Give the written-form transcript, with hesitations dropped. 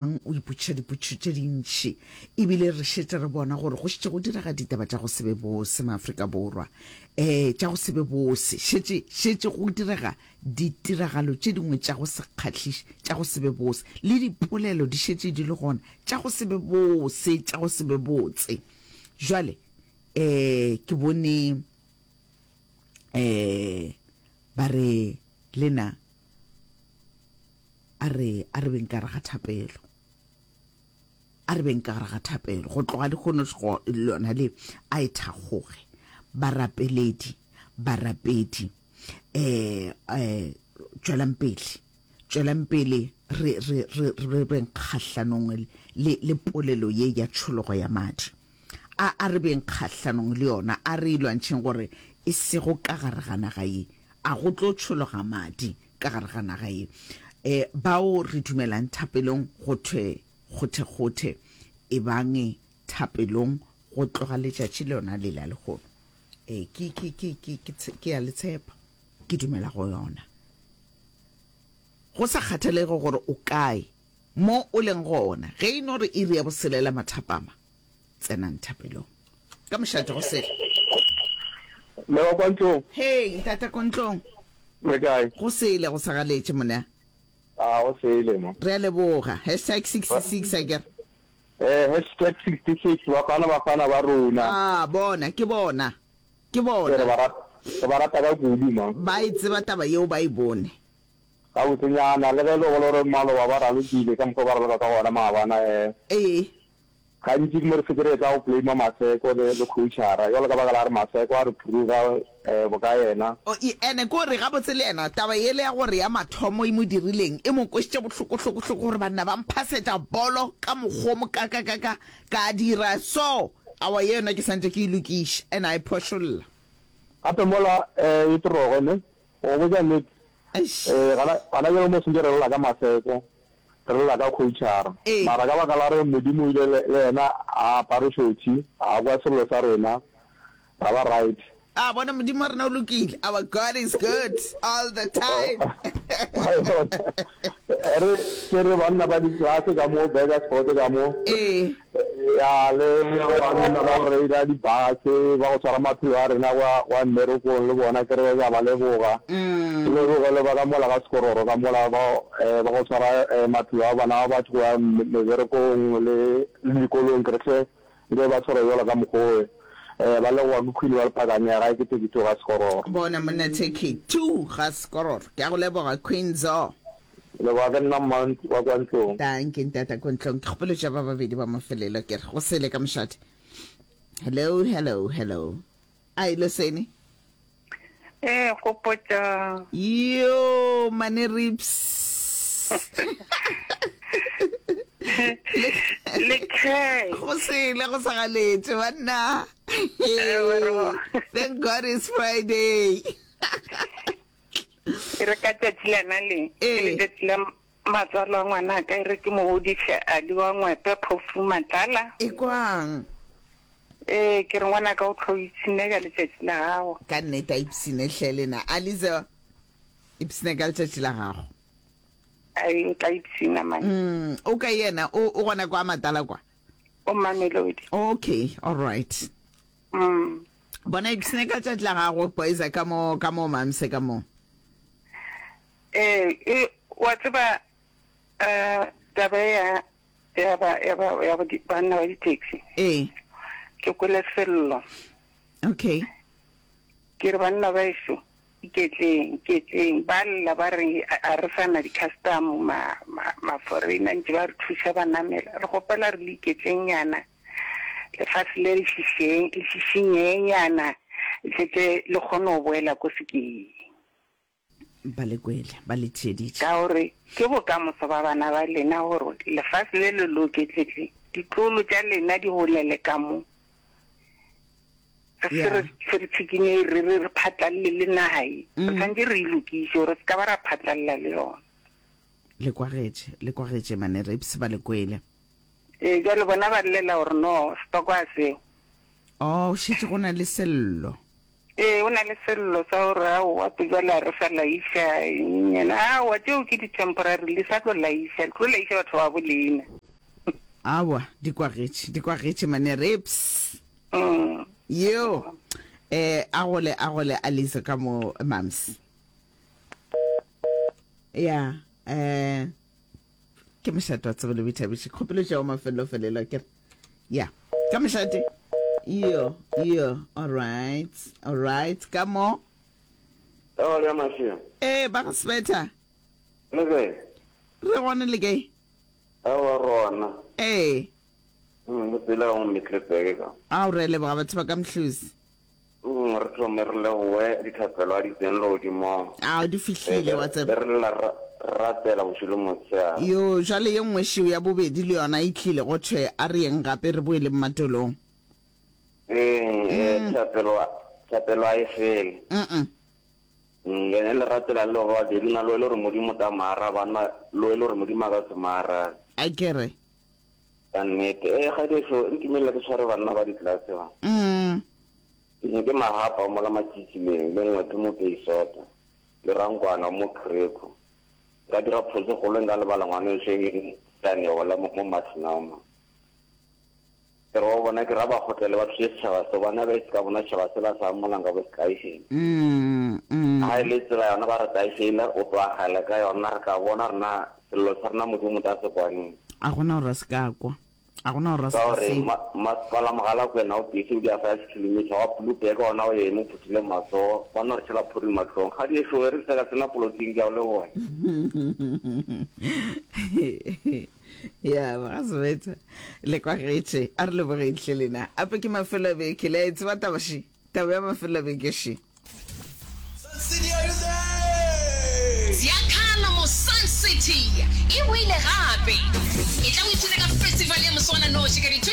O ipotšiša dipotšišo tše dintši e bile re šetše re bona gore go šetše go direga ditaba tša go se be bose Maafrika Borwa. Um tša go se be bose. Šetše, šetše go direga ditiragalo tše dingwe tša go se kgahliše, tša go se be bose. Le dipolelo di šetše di le gona tša go se be bose, tša go se be botse. Jwale, um ke bone um ba re lena A re, a re beng ka gare ga thapelo. A re beng ka gare ga thapelo. Go tloga lehono lona le, a e thakgoge. Barapeledi, barapedi, eh, eh, tšwelang pele. Tšwelang pele re, re, re, re beng kgahlanong le, le polelo ye ya tšhologo ya madi. A, a re beng kgahlanong le yona. A re e lwantšheng gore e sego ka gare ga naga ye. A go tlo tšhologa madi. ka gare ga naga ye. E, bao re dumelang thapelong go thwe kgothekgothe, ebang thapelong go tloga letšatši lona le la lehono. E, ke, ke, ke, ke, ke, ke a le tshepa. Ke dumela go yona. Go sa kgathalege gore o kae, mo o leng gona, ge e no re iri ya boselela mathapama, Tsenang thapelong. Ka mošate go sele. Mme wa kwa ntlong. Hei, ntate ko ntlong. Re kae? Go sele, go sagaletše monna. A go sele mo. Re a leboga. Hashtag 66 a kere. Eh, hashtag 66, bafana bafana ba rona. Ah, bona, ke bona. Ke bona. Re ba rata, re ba rata ka kudu ma. Ba e tseba taba yeo, ba e bone. Gabotsenyana, le ge e le gore maloba ba ralokile ka mokgwa o ba raloka ka gona maabana, eh. Ee. Gantši ke mo re fetše re etla go blame-a Maseko le, le coachara, jwalo ka baka la gore Maseko a re phuruga eh, boka yena. O, e, ene ke gore gabotse le yena taba yele ya gore ya mathomo e mo dirileng e mo kwešitše bohloko-hloko-hloko gore banna ba mphasetša bolo ka mokgwa o mokakakaka ka dira so, aowa ye yona ke santše ke e lokiša ene a e phošolla. Gape mola eh, e toroge ne, go go botša nnete, Eish. eh, gana, gana bjalo mo sentše re lla ka Maseko, Re lla ka coachara. Ee. Mara ka baka la gore Modimo o ile le, le yena a apare šothi, a kwa sello sa rena, ra ba right. A bona Modimo wa rena o lokile. Our God is good all the time. Re ke re banna ba di-class ka mo, Burgersfort ka mo. Ee. Ya, le banna ba go reila di-bus, ba go tshwara maphelo a rena kwa, kwa mmerekong le bona, ke re ke a ba leboga. Ke leboge le ba ka mola ga Sekororo ka mola ba, ba go tshwara maphelo a bana ba batho go ya meberekong le, le dikolong, ke re hle nke ba tshware bjalo ka mokgwa owe. Ba leboga ke Queen wa Lephakane ya gae ke 32 ga Sekororo. Bona monna 32 ga Sekororo. Ke a go leboga Queen Zo. Leboga ke nna Mount wa kwa ntlong. Dankie ntata ko ntlong. Ke kgopelo tša ba babedi ba mafelelo ke re go sele ka mošate. Hello, hello, hello. Ai Losene. Eh, gopotša. Yo, mane rips. Le kae? Go sele go sa galetše banna. Thank God it's Friday. E re ka tšatši lena le, ke Ee. letšatši la matswalo a ngwanaka, e re ke mo godiše Ali wa Ngwepe Phofu Matlala. Ekwang. Ee, ke re ngwanaka o tlo ipshine ka letšatši la gago. Ka nnete a ipshine hle lena. Alize, ipshine ka letšatši la gago. Ai, o tla ipshina man. Mm, o kae yena? O, o gona kwa Matala kwa? O Mamelodi. Okay, all right. Mm. Bona ipshine ka tšatši la gago boys ka mo ka mo mamse ka mo. Eh, e wa tseba eh taba ya ya ba ya ba ya banna ba di-taxi. Ee. Ke kwele sello. Okay. Ke re banna ba eso iketleng iketleng ba lla ba re a re sana di-custom ma ma ma foreigner ntse ba re thuša ba namela re gopela re le iketleng nyana Lefase le le šišeng, le šišinyenyana, le tle le kgone go boela ko sekeng. Ba le kwele, ba le theeditše. Ka gore ke bokamoso ba bana ba lena gore lefase le le loke, tle tle ditlolo tša lena di golele ka mo. Re se re se re tshikinye re re re phatlalle le naga ye. Re swanetše re e lokiše gore se ka ba ra phatlalla le yona. Le kwagetše, le kwagetše mane Rapes ba le kwele. Ee, bjale bona ba llela gore no, setoko a seo. Oh, šetše go na le sello. Ee, o na le sello sa gore aowa bjale a re sa laiša eng yena. Aowa, tšeo ke di-temporary, le sa tlo laiša, le tlo laiša batho ba bo lena. Aowa, di kwagetše, di kwagetše mane rips. Yo, eh, a gole, a gole Alice ka mo mams. Ya, eh, ke mošate wa tsebo le boithabiši. Kgopelo tša wa mafelelo felelo ke re. Ya, ka mošate. Yo, yo, all right, all right, ka mo. Ewa le mašia. Eh, ba ga Svetha. Le kae? Re gona le kae? Ewa rona. Ee. Mm, le pela go Middelburg ka. Ao re leboga batho ba ka Mhluzi. Mm, re thome re leboge dithapelo a di tseng legodimong. Ao di fihlile wa tseba. Re lla re rapela bošego le motshegare. Yo, jwale ye nngwe šeo ya bobedi le yona e tlile go thwe a re yeng gape re boeleng matolong. Ee, eh, thapelo, thapelo a e fele. Mm-mm. Mm, ene le rapela le ba babedi na lo e le gore Modimo ta mo araba na lo e le gore Modimo a ka se mo arabe. A ke re. Ka nnete. Eh, kgadeso, ntumelele ke tshware banna ba ditlelase ba. Mm. Ke ne ke mahapa mola matšitšileng, le ngwethe mo Peisota, le rankwana mo Krekho. Nka dira phoso e kgolo nka lebala ngwana wešo e leng Taneho la mo Martinau ma. Ke re wa bona ke ra ba kgotlele ba thuse setšhaba se bona ba se ka bona setšhaba se ba sa amola nka bo se tlaišeng. Mm, mm. Ha e le tsela yona ba re tlaišeile o tlo agela ka yona re tla bona rena sello sa rena Modimo ta se kwaneng. A gona gore a se ka kwa. A gona gore a se Ka ka gore se. masepala Mogalakwena o busy o dia 5 kilometer wa Blouberg ona o eme o phuthile matsogo ba no re tšhela phuri mahlong. Ga di ešo re se ka tsena polotiking ke a o leboga. Ya ba sebetsa le kwagetše a re lebogeng hle lena ape ke mafelo a beke le a e tseba taba še taba ya mafelo a beke še. Sun City, are you there? Ziakhala mo Sun City e boile gape! Etla o ipshine ka festival ya moswananoši ka di.